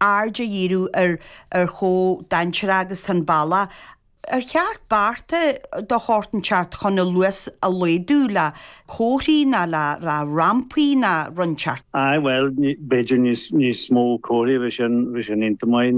Aird a dhíriú ar ar chomh dainséarach agus tá an bealach. Ar cheart bearta de shórt inteacht chun an luas a laghdú le comharthaí ná le rampaí ná rud inteacht? Aye, bhuel, b'fhéidir níos mó comharthaí, bheadh sin, bheadh sin iontach maith.